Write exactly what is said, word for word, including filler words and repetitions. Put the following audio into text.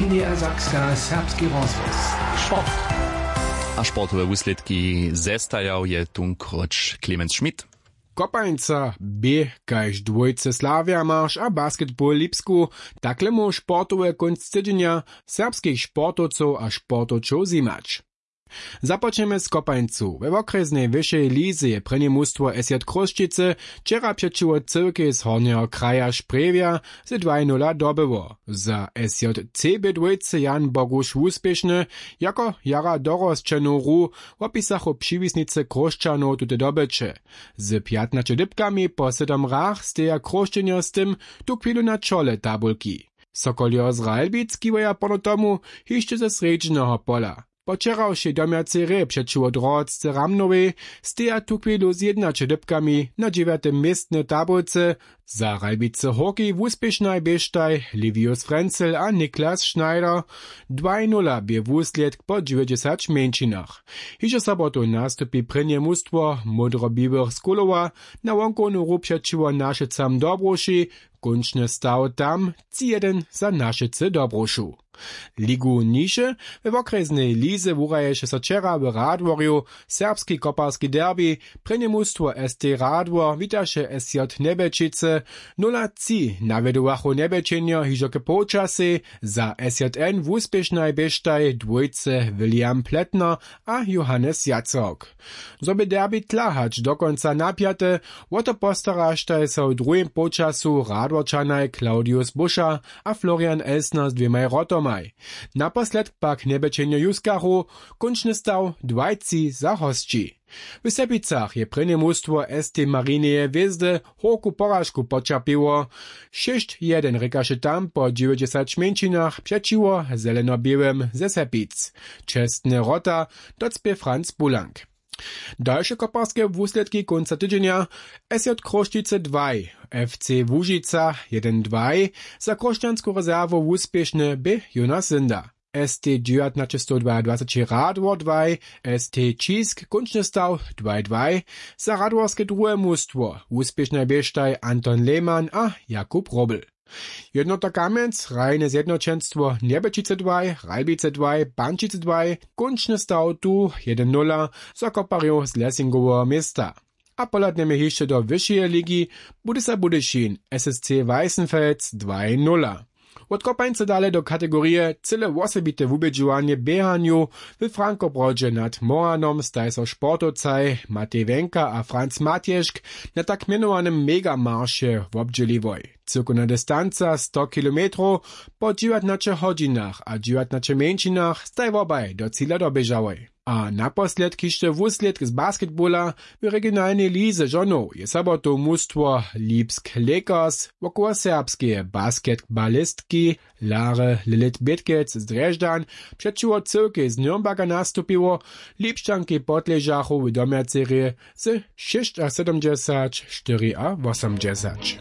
Niedersachska, serbski rozhłos. Sport. A sportowe wuslědki zestajał je tunkroć Clemens Schmidt. Kopańca bě kaž dwójce Slavia Marš a basketball Lipsku, takle móhł sportowy kónc tydźenja serbskich sportowcow a sportowčow zjimać. Započnjemy z Kopańcu. We wokrjesnej wyšej lize je prěnje mustwo S J Chrósćicy wčera přećiwo Cyłkej z Hornjeho kraja Sprjewja z dwaj nula dobyło. Za S J C bě dwójce Jan Boguš wuspěšny, jako jara dorosćenu hru wopisachu přiwisnicy Chróšćanow tute dobyće. Z pjatnaće dypkami po sydom hrach steja Chróšćenjo z tym tu chwilu na čole tabulki. Sokoljo z Ralbic kiwaja pono tomu hišće ze srjedźneho pola. Po wčerawšej domjacej hrě přećiwo Drhotce Ramnowej steja tuchwilu z jědnaće dypkami na dźewjatym městnje w tabulce. Za Ralbicy hórki wuspěšnaj běštaj Livius Frenzel a Niklas Schneider. Dwaj nula bě wuslědk po dźewjećdźesać mjeńšinach. Hižo sobotu nastupi prěnje mustwo módrobiłych z Kulowa na wonkownu hru přećiwo Našicam Dobruši. Kónčny staw tam tři jedyn za Našicy Dobrušu. Ligu niže. We wokrjesnej lize wuraješe so wčera w Radworju serbski koparski derbi. Prěnje mustwo S T Radwor witaše S J Njebjećicy. Nula tři nawjedowachu Njebjećenjo hižo k połčasej. Za S J N wuspěšnaj běštaj dwójce William Pletner a Johannes Jacok. Zo bě derbi tla hač do kónca napjate, wo to postaraštaj so w druhim połčasu Radworčanaj Claudius Buscha a Florian Elsner z dwěmaj wrotomaj. Naposledk pak Njebjećenjo juskachu. Kónčny staw dwaj tři za hosći. W Sepicach je prěnje mustwo S T Marineje hwězdy hórku poražku poćerpěło. Šěsć jedyn rěkaše tam po dźewjećdźesać mjeńšinach přećiwo zelenoběłym ze Sepic. Čestne wrota docpě Franz Bulank. Dalše koparske wuslědki kónca tydźenja: S J Chrósćicy dwaj, F C Łužica jedyn dwaj. Za chróšćansku rezerwu wuspěšny bě Jonas Synda. S T dźewjatnaće sto dwajadwaceći Radwor dwaj, S T Ćisk kónčny staw dwaj dwaj. Za radworske druhe mustwo wuspěšnaj běštaj Anton Lehmann a Jakub Robl. Jednota Kamjenc, hrajne zjednoćenstwo Njebjećicy dwaj, Ralbicy dwaj, Pančicy dwaj, kónčny staw tu jedyn nula za koparjow z Lessingoweho města. A pohladnjemy hišće do wyšeje ligi. Budysa Budyšin, S S C Weissenfels dwaj nula. Wot Kopańca dale do kategorije cyle wosebite wubědźowanje w běhanju. W Frankobrodźe nad Moranom staj so sportowcaj Matej Wenka a Franz Matješk na tak mjenowanym Megamarše wobdźěliłoj. Cyłkowna distanca sto kilometrow. Po dźewjatnaće hodźinach a dźewjatnaće mjeńšinach staj wobaj do cila doběžałoj. A naposledk hišće wuslědk z basketbola. W regionalnej lize žonow je sobotu mustwo Lipsk Lakers wokoło serbskeje basketbalistki Lary Lilith Bětkec z Drježdźan přećiwo Cyłkej z Nürnberga nastupiło. Lipšćankej podležachu w domjacej hrě ze šěsćasydomdźesać štyriawosomdźesać.